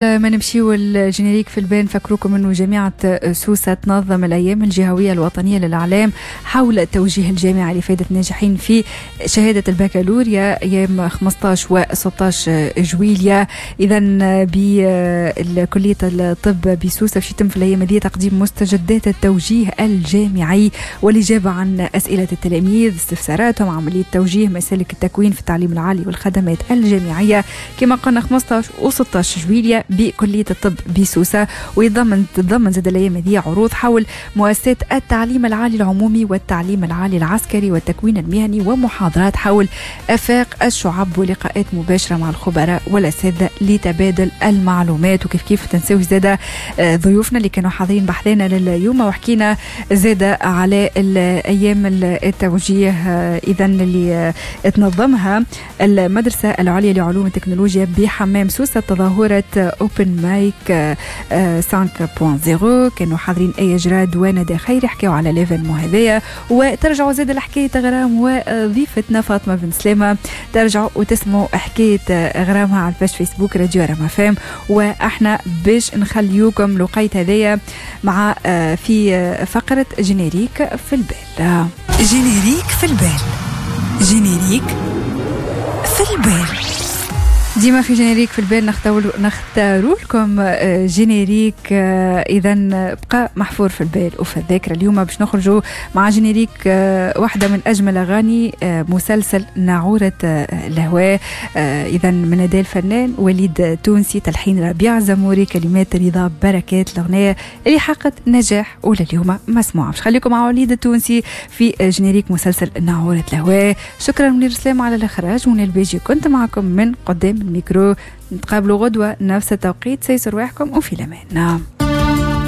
ما نمشيو ال générique في البال، نفكروكم انه جامعة سوسة تنظم الايام الجهوية الوطنية للاعلام حول توجيه الجامعة لفائدة الناجحين في شهادة البكالوريا ايام 15 و 16 جويليا. اذا بكلية الطب بسوسة باش يتم في الايام هذه تقديم مستجدات التوجيه الجامعي والاجابة عن اسئلة التلاميذ، استفساراتهم، عملية توجيه مسالك التكوين في التعليم العالي والخدمات الجامعية. كما قلنا 15 و 16 جويليا بكلية الطب بسوسة. تتضمن زاد الأيام هذه عروض حول مؤسسات التعليم العالي العمومي والتعليم العالي العسكري والتكوين المهني، ومحاضرات حول آفاق الشعب، ولقاءات مباشرة مع الخبراء والأساتذة لتبادل المعلومات. وكيف كيف تنساوش زاد ضيوفنا اللي كانوا حاضرين بحذانا لليوم وحكينا زاد على الأيام التوجيه إذا اللي تنظمها المدرسة العليا لعلوم التكنولوجيا بحمام سوسة، تظاهرة Open Mic 5.0. كانوا حاضرين آية جراد وندى خيري، حكاو على l'événement هذايا. وترجعوا زاد لحكاية غرام وضيفتنا فاطمة بن سلامة، ترجعوا وتسمعوا حكاية غرامها على ال page Facebook راديو رما فام. واحنا باش نخليوكم الوقيت هذايا مع في فقرة générique في البال. générique في البال، générique في البال. ديما في générique في البال نختاروا لكم générique اذا بقى محفور في البال وفي الذاكرة. اليوم باش نخرجوا مع générique واحدة من اجمل اغاني مسلسل ناعوره الهواء، اذا من اداء الفنان وليد تونسي، تلحين ربيع زموري، كلمات رضا بركات، الاغنية اللي حققت نجاح ولليوم مسموعة. باش خليكم مع وليد التونسي في générique مسلسل ناعوره الهواء. شكرا منير سلام على الاخراج، منى الباجي كنت معكم من قدام الميكرو. نتقابلوا غدوة نفس التوقيت، سيسر رواحكم وفي الأمان.